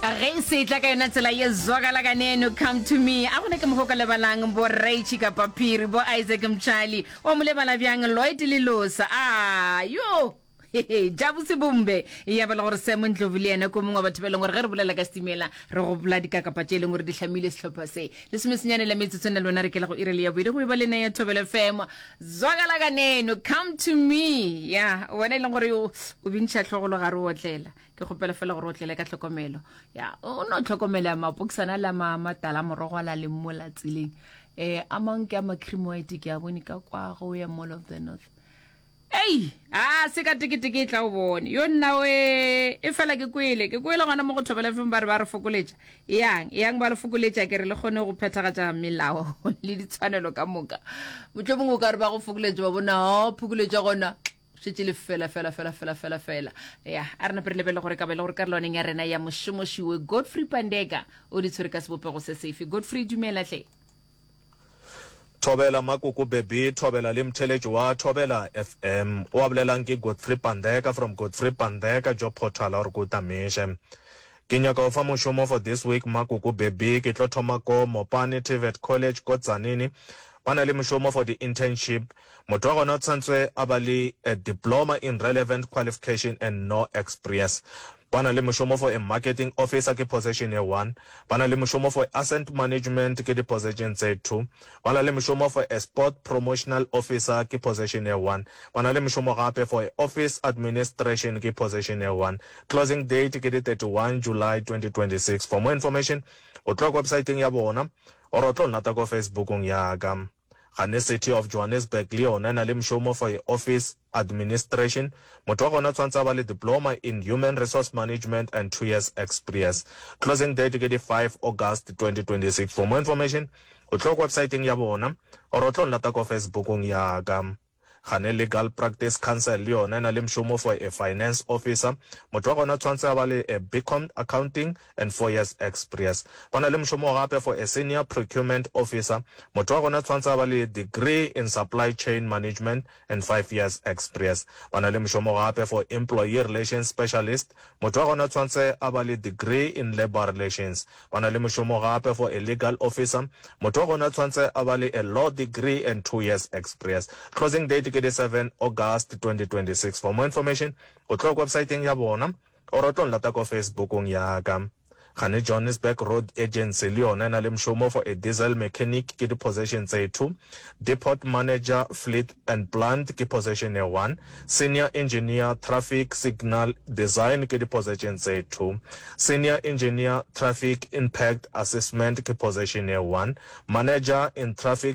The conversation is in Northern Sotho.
Ge e se tla ka yona tsela ye zwakala kaneno come to me a gona ke mokgwa o ka lebalang bo Rachie kapa Phiri bo Isaac Mtshali wa mo lebala bjang Lloyd Lelosa a yo Jabu Sebombe ya ba le gore Sam Ndlovu le yena ko mongwe wa batho ba e leng gore ge re bolela ka setimela re gopola dikakapa tše e leng gore di hlamile sehlopha se lesomesenyane la metsotso na lona re kela go ire le ya boile go e ba le ya Thobela FM zwakala kaneno come to me ya wena e leng gore o bintšha tlhogolo ga re otlela Ke kgopela fela gore o tlele ka tlhokomelo. Ya, o no tlhokomela mapokisana la ma matala morogo a la leng mo la tseleng. Eh, a mang ke a ma cream white ke a bone ka kwa go ya Mall of the North. Ei, a se ka teketeke e tla o bone. Yo nna we, e fela ke kwele, ke kwele gona mo go Thobela FM ba re ba re fokoletša. Eyang, eyang ba le fokoletša ke re le kgone go phethagatša melao le ditshwanelo ka moka. Mohlomongwe o ka re ba go fokoletša ba bona, oh, phokoletša gona. Šetše le fela fela fela fela fela fela. Ya, a re nape re lebelele gore ka ba e le gore karolwaneng ya rena ya mošomošiwe Godfrey Pandeka o di tshwere ka sebopego se sefe. Godfrey, dumela hle. Thobela Makoko Beby, Thobela le mtheletši wa Thobela FM. O a bolelang ke Godfrey Pandeka from Godfrey Pandeka Job Portal or ko Tamiše. Ke nyaka go fa mošomo for this week Makoko Beby, ke tlo thoma ko Mopani TVET College ko Tzaneen. Ba na le mošomo for di internship. Motho wa gona o tshwantswe a ba le a diploma in relevant qualification and no exprience. Ba na le mošomo for a marketing officer ke position ye one. Ba na le mošomo for asset management ke di position tse two. Ba na le mošomo for a sport promotional officer ke position ye one. Ba na le mošomo gape for a office administration ke position ye one. Closing date ke di 31 July 2026. For more information o tlo ya websiteng ya bona or o tlo nlata ko Facebookong ya ka. Gane City of Johannesburg le yona e na le mšomo for a office administration. Motho wa gona o tshwanetse a ba le diploma in human resource management and 2 years exprience. Closing date ke di 5 August 2026. For more information o tlo ko websiteng ya bona or o tlo nlata ko Facebookong ya ka. Gane Legal Practice Council le yona e na le mšomo for a finance officer. Motho wa gona o tshwanetse a ba le a BCom Accounting and 4 years exprience. Ba na le mšomo gape for a senior procurement officer. Motho wa gona o tshwanetse a ba le degree in supply chain management and 5 years exprience. Ba na le mšomo gape for employee relations specialist. Motho wa gona o tshwanetse a ba le degree in labour relations. Ba na le mošomo gape for a legal officer. Motho wa gona o tshwanetse a ba le a law degree and 2 years exprience. Closing date ke di 7 August 2026. For more information, o tlo ko websiteng ya bona or o tlo nlata ko Facebookong ya ka. Gane Johannesburg Road Agency le yona e na le mošomo for a diesel mechanic ke di position tse 2, depot manager fleet and plant ke position ye 1, Senior Engineer Traffic Signal Design ke di position tse 2, Senior Engineer Traffic Impact Assessment ke position ye 1, Manager in Traffic.